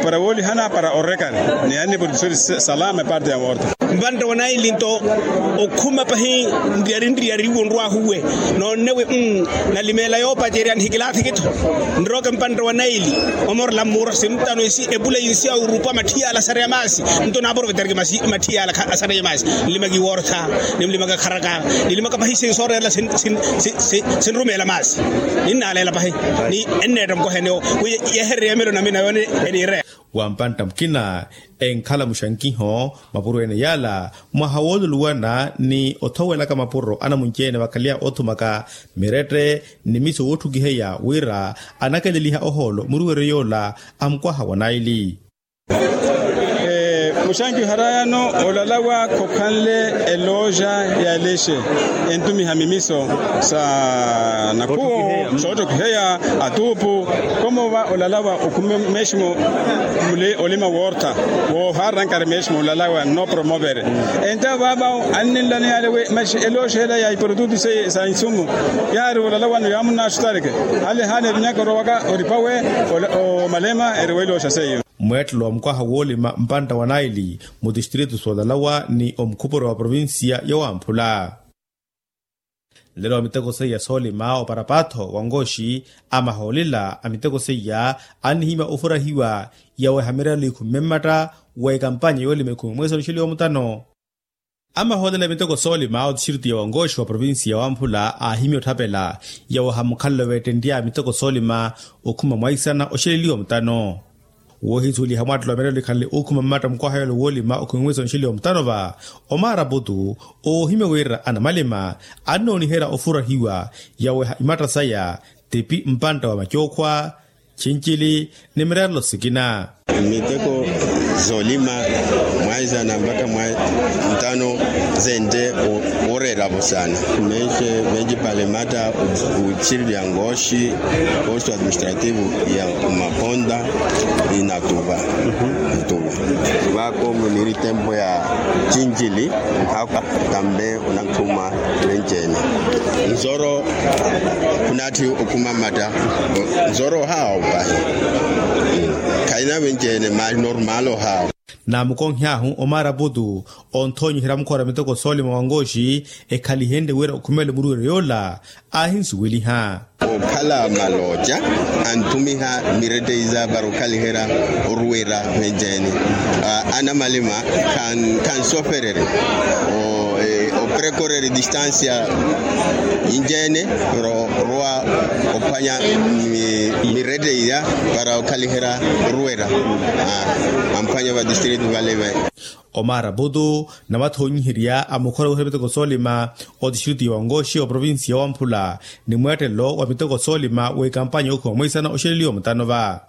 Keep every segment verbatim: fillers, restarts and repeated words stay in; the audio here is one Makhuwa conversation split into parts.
Para woolihana para orekari ni anni produsori salama eparte ya moorta. Mpantta wa naili nto okhuma pahi nriyari nriyari wo nrwahuwe noonnewe. Nalimeela yoopacerya nihikilaathiki-tho nrooke mpantta wa naili omorela mmuuro sintano esi epula yinsi ya orupa matthi yaala asareya maasi. Nto naaprovetariki matthi yaala asareya maasi. Nlimaka iwoortha, nimlimaka kharaka, nilimaka pahi sinsi sooreerela sinrumeela maasi. Ninnaaleela pahi ni enneetta mukohenewo wi yehererya emelo namina yoone eniireya. Wa mpantta mukina enkhala muxankiho mapuro ene yaala mwaha wooluluwana ni othowelaka mapuro anamunci-ene vakhaleya othumaka mirette ni miso wootthukiheya wira anakeleliha ohoolo muruweryo yoola a mukwaha wa naili. Muxankiho harayano olalawa khokhanle elooja ya lexe entumiha mimiso sa nakhuwo sootthokiheya atuupu. Komo va olalawa okhume meeximo mule olima woortha woohaarerankari meeximo olalawa nno promovere. Enta vaava anninlano yaale wi maxi elooja ela ya iprodutu seiye sa insumu yaari olalawano yaamunnaxutareke ale haana evinyaka orowaka oripawe omalema eri weelooja seiyo. Mweettelo wa mukwaha woolima mpantta wa naili mutistritu soolalawa ni omukhupuro wa provincia ya wamphula. Nlelo wa miteko seiya soolima oparapaatho wa nkooxi amahoolela a miteko seiya annihimya ofurahiwa yaweha mirelo ikhumme mmatta wa ekampanya yoolima ikhumme mweesi onixeliwa omutano. Amahoolela a miteko soolima otistritu ya wankooxi wa provincia ya wamphula aahimya otthapela yaweha mukhalelo veettenrya a miteko soolima okhuma mwaisana oxeleliwa omutano. Woohisuweliha mwattelo wa mirelo ikhanle ookhuma mmatta mukwaha yoola woolima okhuma mweesi onxeliwa omutano va omaaraputu oohimya wira anamalima annooniherya ofurahiwa yaweha imatta saya tipi mpantta wa macookhwa, chincili ni mireerelo sikina. Miteko zoolima mwaisana mpakha mwa ntano zente. Wooreeravo saana menci menci palemata. Utsiriri ya nkooxi posto administrativo ya umaponta inatuva. Vako muniri tempo ya cincili nkhaka tambe unakhuma. Menci-ene nzoro khunatthi okhuma mmatta. Nzoro ohaawa opahi khaina menci-ene maali normal ohaawa. Naamukonhy'ahu omaaraputu onthoonyiherya mukhoora miteko soolima wa nkooxi ekhalihenrye wira okhumele muruweryo yoola aahinsuweliha. Okhala malooca anthumiha miretteyi sa para okhaliherya oruwera menci-ene. Anamalima khansofererya oprekoreri distansia yinci-ene para orowa ophwanya miretteyi iya para okhaliherya oruwera amphwanya vatistritu vale. Omaaraputu navathoonyiherya a mukhora wiherya miteko soolima otistritu ya wankooxi oprovincia ya wamphula ni mweettelo wa miteko soolima w'ekampanya yookhuma mweisana oxeleliwa omutano va.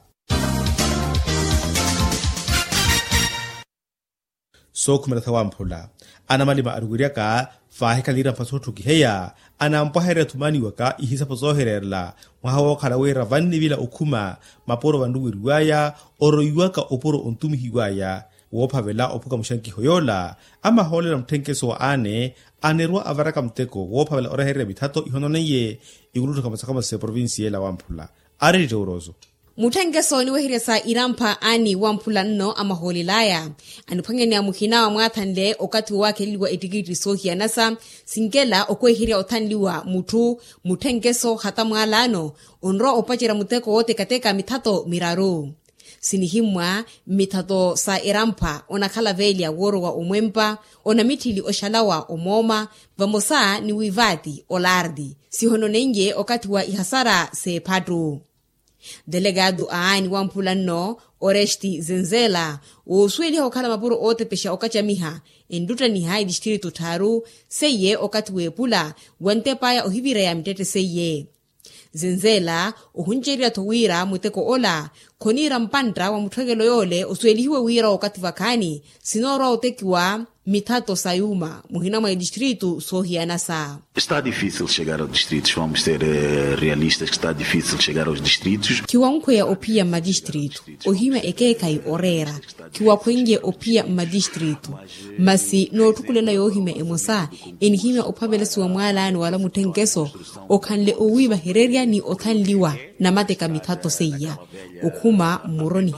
Sookhumela sawamphula anamalima aruweryaka faahikhala irampha sootthukiheya anampwahererya thumaniwaka ihisapo soohireerela mwaha wookhala wira vannivila okhuma mapuro vanruweriw'aya oroiwaka opuro ontumihiw'aya. Woophavela ophuka muxankiho yoola amahoolela mutthenkeso wa aane anirwa avaraka muteko woophavela orehererya mithato ihononeiye ikulutthu khamasakhamasa sa eprovincia ela wamphula. Ari titoworoso. Mutthenkeso oniweherya sa irampha aani wamphula nno amahoolel'aya aniphwanyaneya muhina wa mwaathanle okathi woowakheleliwa ettikitti soohiyanasa sinkela okweherya othanliwa mutthu. Mutthenkeso hata mwaalaano onrowa opacerya muteko wootekateka mithato miraru. Sinihimmwa mmithato sa erampha onakhala veelya woorowa omwempa onamitthili oxalawa omooma vamosa ni wiivaati olaarti sihononeiye okathi wa ihasara s'ephattu. Delegado a aani wamphula nno oresti zenzela woosuweliha okhala mapuro ootepexa okacamiha enttuttaniha etistritu tthaaru seiye okathi w'epula wantep'aya ohivireya mittette seiye. Zenzela ohuncererya-tho wira muteko ola khoniira mpantta wa mutthwekelo yoole osuwelihiwe wira okathi vakhaani sinoorowa otekiwa mithato sa yuuma muhina mwa etistritu soohiyanasa. Está difícil chegar ao distrito vamos ser realistas que está difícil chegar aos distritos. Khiwankhweya ophiya mmatistritu ohimya ekeekhayi oreera. Khiwakhwenrye ophiya mmatistritu masi nootthukulela yoohimya emosa enihimya ophavelasiwa mwaalaani wala mutthenkeso okhanle owiivahererya ni othanliwa namateka mithato seiya okhuma mmuroni.